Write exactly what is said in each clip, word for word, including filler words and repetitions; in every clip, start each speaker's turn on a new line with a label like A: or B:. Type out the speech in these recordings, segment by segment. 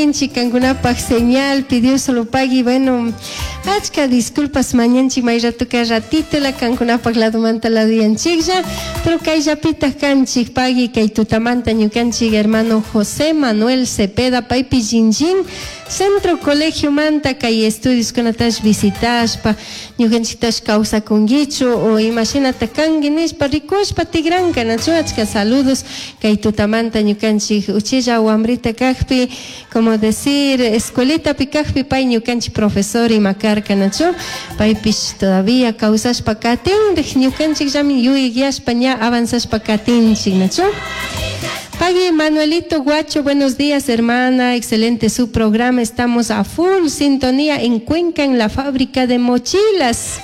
A: Kankunapaj señal pidió solo pagui. Bueno, achka disculpas mañanchik may ratoka ratito la kankunapaj ladomanta laduyanchiklla, pero kayllapitaq kanchik. Pagui, kay tutamanta ñukanchik hermano José Manuel Cepeda, paypi Jinjin Centro Colegio manta kay estudios kunatash visitashpa, ñukanchiktash kawsakunkichu o imashinata kanki nishpa rikushpa tigranka, nachu? Achka saludos kay tutamanta ñukanchik uchilla wambrita kakpi, como decir, escuelitapi kakpi pay ñukanchik profesor ima karka, nachu? Paypish todavía kawsashpa katinrik, ñukanchikllami yuyayashpa ña avanzashpa katinchik, nachu? Pagui. Manuelito Guacho, buenos días, hermana, excelente su programa, estamos a full sintonía en Cuenca, en la fábrica de mochilas.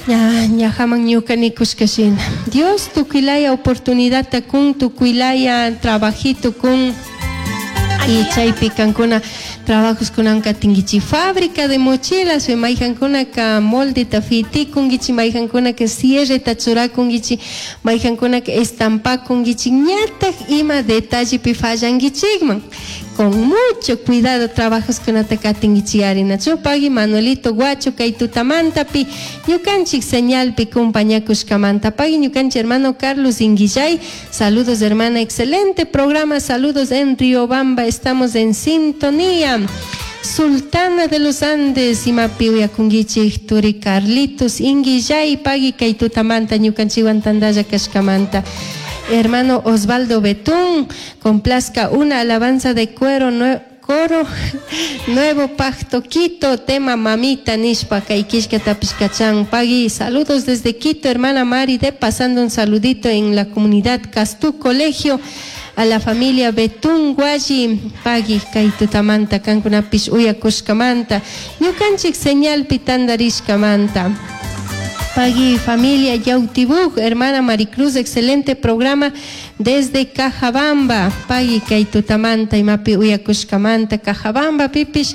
A: Ya, ñajaman ñuka nikushka shina. Dios tukuylaya oportunidad kun, tukuylaya trabajito kun. Y chaypi kankuna trabajos kunanka tingichi fábrica de mochilas, mayjankunaka moldeta fitikunkichi, mayjankunaka cierreta churakunkichi, mayjankunaka estampakunkichi, ñataj ima detallepi fallankichikman. Con mucho cuidado trabajos kunata katinkichi ari, nachu? Pagui, Manuelito Guacho, kay tutamantapi ñukanchik señalpi kumpañakushkamanta. Pagui. Ñukanchik hermano Carlos Inguillay, saludos, hermana, excelente programa, saludos en Riobamba, estamos en sintonía. Sultana de los Andes, imapi uyakunkichik, turi Carlitos Inguillay, pagui kay tutamanta ñukanchikwan tandalla kashkamanta. Hermano Osvaldo Betún, complazca una alabanza de cuero coro Nuevo Pacto Quito, tema Mamita nishpa kay killkatapish kachan. Pagui, saludos desde Quito, hermana Mari de pasando un saludito en la comunidad Castú Colegio a la familia Betún Guayi. Pagui kay tutamanta kankunapish uyakushkamanta, ñukanchik señalpi tandarishkamanta. Pagui, familia Yautibug, hermana Maricruz, excelente programa desde Cajabamba. Pagui kay tutamanta imapi uyakushkamanta. Cajabamba pipish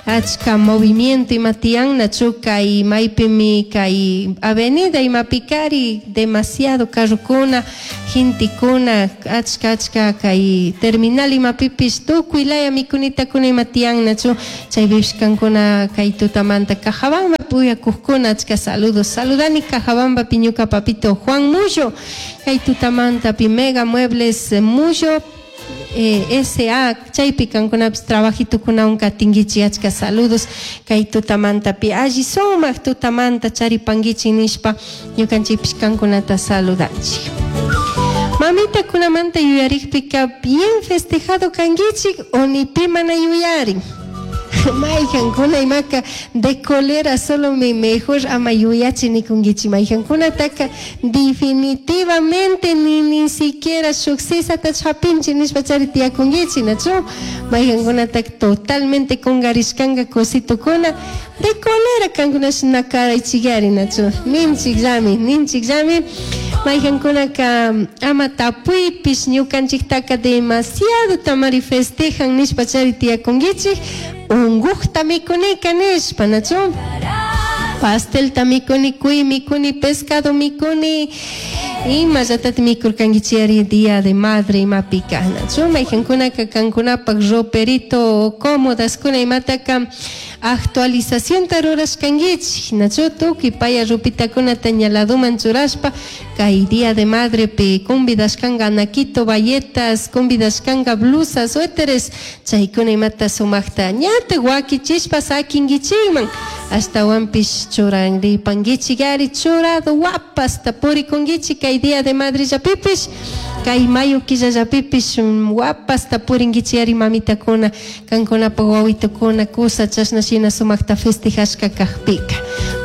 A: achka movimiento ima tiyan, nachu? Kay maypimi kay avenida imapikari demasiado carrokuna, gentekuna, achka achka kay terminal imapipish tukuy laya mikunitakuna ima tiyan, nachu? Chaypipish kankuna kay tutamanta Cajabamba uyakuqkuna, achka saludos. Saludani Cajabamba ñuka papito Juan Mullo kay tutamanta pi Mega Muebles Mullo eh, S A chaypi kankunapish trabajitukunawan katinkichik. Achka saludos kay tutamantapi, alli sumak tutamanta charipankichik nishpa ñukanchikpish kankunata saludanchik. Mamitakunamanta yuyarikpika, bien festejado kankichik o ni pi mana yuyarin? Mayjankuna imaka de colera solo mi mejor ama yuyachi nikunkichik, mayjankunataka definitivamente ni ni siquiera shuk sisata hapinchik nishpa chari tiyakunkichik, nachu? Mayjankunataka totalmente kungarishkanka cositukuna, de colera kankunash nakaraychikari, nachu? Ninchikllami, ninchikllami. Mayjankunaka ama tapuypish, ñukanchiktaka demasiado tamari festejan nishpa chari tiyakunkichik, unkukta mikunika nishpa, nachu? Pastelta mikuni, cuy mikuni, pescado mikuni, imallatata mikurkankichik Día de Madre imapika, nachu? Mayjankunaka kankunapak roperito cómodaskuna imataka actualizacionta rurashkankichik, nachu? Tukuy paya ropitakunata ña ladoman churashpa kay Día de Madrepi convidashkanka anaquito, bayetas, convidashkanka blusas, suéteres, chaykuna imata sumakta ñata wakichishpa sakinkichikman, ashtawanpish churanripankichik ari, churado wapasta purikunkichik kay Día de Madre llapipish, kay mayo killallapipish wapasta purinkichik ari, mamitakuna kankunapak wawitukuna kusa chashna shina sumakta festejashka kakpika.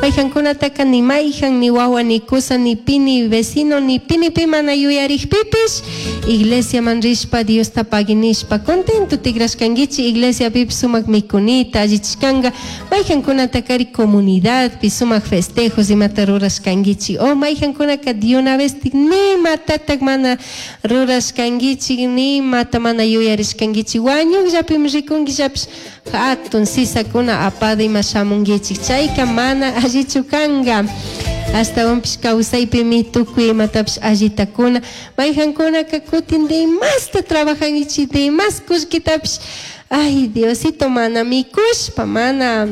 A: Mayjankunataka ni mayjan, ni wawa, ni kusa, ni pi, ni vecino, ni pi, ni pi mana yuyarikpipish iglesiaman rishpa Diosta pagui nishpa contento tigrashkankichik, iglesiapipish sumak mikunita allichishkanka. Mayjankunatakari comunidadpi sumak festejos imata rurashkankichik, o mayjankunaka de una vez nimatatak mana rurashkankichik, nimata mana yuyarishkankichik, wañukllapimi rikunkillapish hatun sisakuna apada ima shamunkichik, chayka mana allichu kanka. Ashtawanpish kawsaypimi tukuy imatapish allitakuna. Mayjankunaka kutin demasta trabajankichik, demas kullkitapish Ay, Diosito, mana mikushpa, mana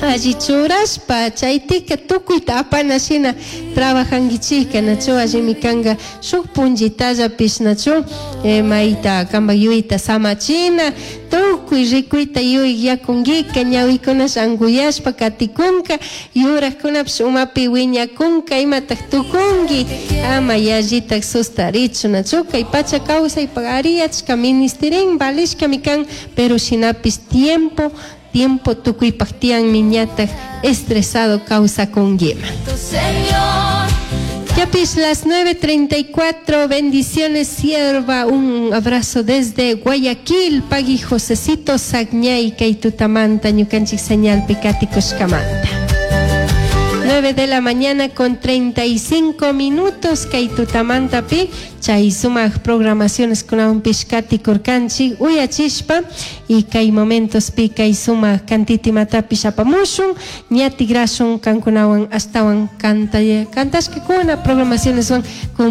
A: alli churashpa chaytika tukuyta apana shina trabajankichika, nachu? Allimi kanka shuk punllitallapish, nachu, eh, mayta kanpak yuyayta samachina. Tukuy rikuyta yuyay yakunkika, ñawikunash ankuyashpa katikunka, yurakunapish umapi wiñakunka. Imatak tukunki? Ama yallitak sustarichu, nachu? Kay pacha kawsaypak ari achka ministirin, valishkami kan, pero shinapish tiempo tiempo tukuypak tiyanmi, ñatak estresado kawsakunkiman. Yapis las nueve treinta y cuatro, bendiciones, sierva, un abrazo desde Guayaquil, pagui Josecito Sagñay, kay tutamanta, ñukanchik señalpi katikushkamanta. nueve de la mañana con treinta y cinco minutos, kay tutamantapi, chay sumak programaciones kunawanpish katikurkanchik uyachishpa, y kay momentospi kay sumak kantitimatapish apamushun, ña tigrashun kankunawan ashtawan kanta kantashkakuna programacioneswan.